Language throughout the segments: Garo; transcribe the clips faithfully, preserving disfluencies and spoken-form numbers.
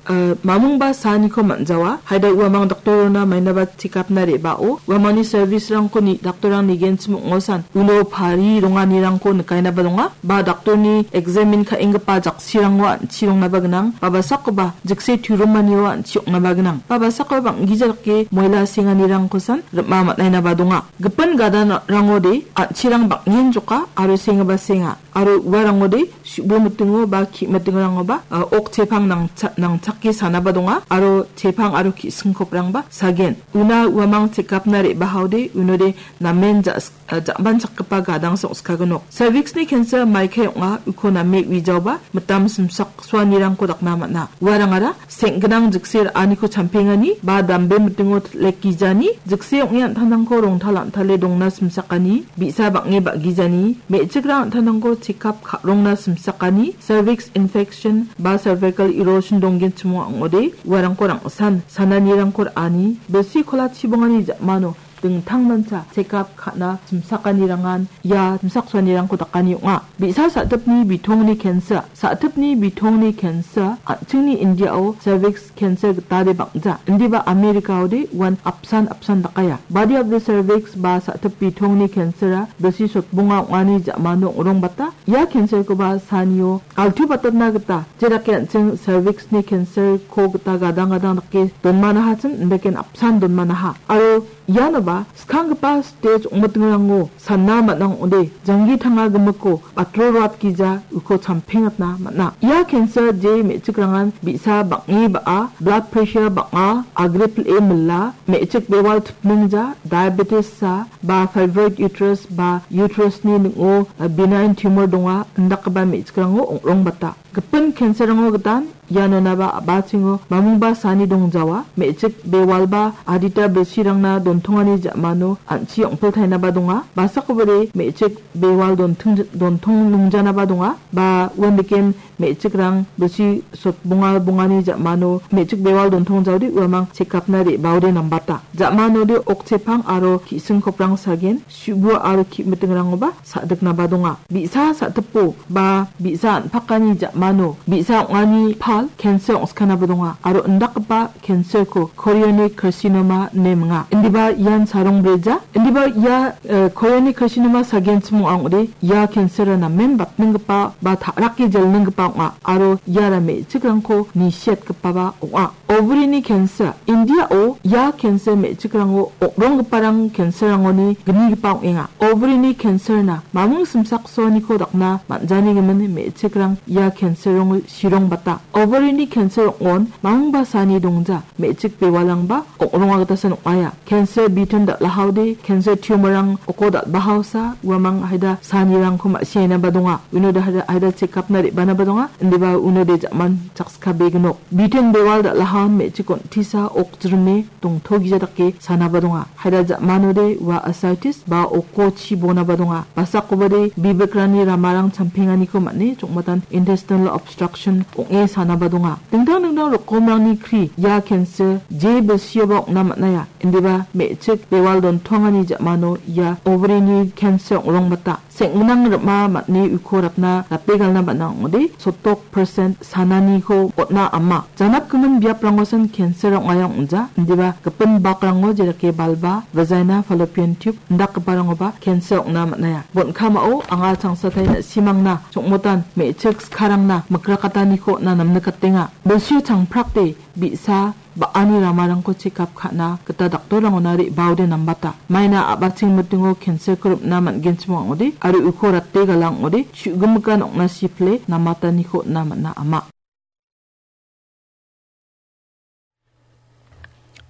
eh, mamungba saaniko man·jawa. Haida uamang doktorona mainaba check-up-na re·bao, uamangni service-rangko ni-, doktorrang nigenchim ong·osan, uno pari ronganirangko nikainaba donga. Ba doktorni examine ka·enggipa jaksirango an·chi rongnaba gnang. Ba basakoba jikse turumanio an·chi ong·naba gnang. Ba basakoba bang·gija dake moila senganirangkosan rim·a man·ainaba donga. Gipin gadanrangode an·chirang bang·en joka aro sengaba senga. Aro uarangode su·bo mitingo ba ki·mitingrangoba, a, ok chepang nangcha-, nangchake sanaba donga. Aro chepang aro ki·singkoprangba sagen. Una uamang check-up-na re·bahaode unode namen ja-, a, ja·manchakgipa gadang song·skagnok. Cervix-ni cancer maikae ong·a, uko name uijaoba mitam simsaksoanirangko dakna man·a. Uarangara seng·gnang jikse ra·aniko champengani ba dambe mitingo titlek gijani, jikse ong·e an·tangtangko rongtal an·tale dongna simsakani, bi·sa bang·e ba·gijani, me·chikrang an·tangtangko check-up ka·rongna simsakani, cervix infection ba cervical erosion donggenchimo ong·ode, uarangko rang·san sananirangko ra·ani, bilsi kola chibongani ja·mano dingtangmancha check-up ka·na simsakanirangan ia simsaksoanirangko dakani ong·a. Bi·sa sa·tipni bitongni cancer, sa·tipni bitongni cancer, an·chingni Indiao cervix cancer gitade bang·ja. Indiba Americaode uan apsan apsan dakaia. Body of the cervix ba sa·tip bitongni cancer-a bilsi sotbonga ong·ani ja·mano ong·rongbata. Ia cancer-koba sanio altu batatna gita, jedake an·ching cervix-ni cancer-ko gita gadang gadang dake donmanahachim, indake apsan donmanaha. Aro ianoba skanggipa stage ong·mitingrango sana man·a ong·ode, janggi tanga gimikko batro ruat gija uko champengatna man·a. Ia cancer je me·chikrangan bi·sa bang·e ba·a, blood pressure bang·a, agre pil·e mila, me·chik bewal tipningja, diabetes-sa, ba fibroid uterus ba uterus-ni ning·o, a, benign tumor donga, indakgipa me·chikrango ong·rongbata. Gipin cancer-rango gitan, ianonaba a·bachingo mamungba saani dongjawa, me·chik bewalba adita bilsirangna dontongani ja·mano an·chi ong·piltainaba donga. Basakobade me·chik bewal donting-, dontong ningjanaba donga, ba uandiken me·chikrang bilsi sotbonga bongani ja·mano me·chik bewal dontongjaode uamang check-up-na re·baode nambata. Ja·manode okchepang aro ki·singkoprang sagen, su·bu aro ki·mitingrangoba sa·diknaba donga. Bi·sa sa·tipo ba bi·sa an·pakani ja·mano bi·sa ong·ani pal cancer ong·skanaba donga aro indakgipa cancer-ko chorionic carcinoma ine minga. Indiba ian sarongbreja. Indiba ia, eh, chorionic carcinoma sagenchim ong·a ong·ode ia cancer-a namen batninggipa ba ta·rake jelninggipa ong·a aro iara me·chikrangko nisiatgipaba ong·a. Ovary-ni cancer. Indiao ia cancer me·chikrango ong·ronggiparang cancer-rangoni gnigipa ong·enga. Ovary-ni cancer-na mamung simsaksoaniko dakna man·janigimin me·chikrang ia cancer-rango sirongbata. Ovary-ni cancer ong·on mamungba saani dongja, me·chik bewalrangba ong·ronga gitasan ong·aia. Cancer bitin dal·ahaode, cancer tumor-rang oko dal·bahaosa, uamang haida saanirangko ma·siainaba donga. Unode haida, haida check-up-na re·banaba donga, indiba unode ja·man chakskabegnok. Bitin bewal dal·ahan me·chik on·tisa okjrime dongtogija dake sanaba donga. Haida ja·manode ua ascites ba oko chibonaba donga. Basakobade bibikrani ramarang champenganiko man·e chongmatan intestinal obstruction ong·e sanaba donga. Dingtang dingtang rokomrangni kri ia cancer je bilsioba ong·na man·aia. Indiba me·chik bewal dontongani ja·mano ia ovary-ni cancer ong·rongbata. Seng·gnang rim·a man·e uko ratna rate galna man·a ong·ode, sotok percent sananiko on·a ama. Janapgimin biaprangosan cancer ong·aia ong·ja, indiba gipin bakrango jedake balba, vagina, fallopian tube, indakgiparangoba cancer ong·na man·aia. Bon·kamao anga changsatai na·simangna, chongmotan, me·chik skarangna, mikrakataniko on·na namnikatenga. Bilsio changprakde, bi·sa, ba·ani ramarangko check-up ka·na gita daktorrangona re·baode nambata. Maina a·bacheng mitingo cancer-ko rim·na man·genchim ong·ode, aro uko rate gala ong·ode, chu·gimikan ong·na sipile namataniko on·na man·a ama.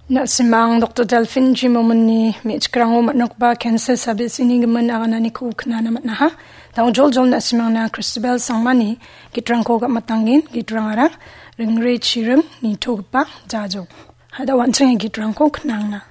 Na·simang Doktor Delphine Jimomonni me·chikrango man·rokba cancer sabisini gimin agananiko knana man·aha. Dao joljol na·simangna Christabel Sangmani gitrangko gam·atanggen, gitrangara Ringre Chiring nitogipa jajo. Hada wanching gitrangko knangna.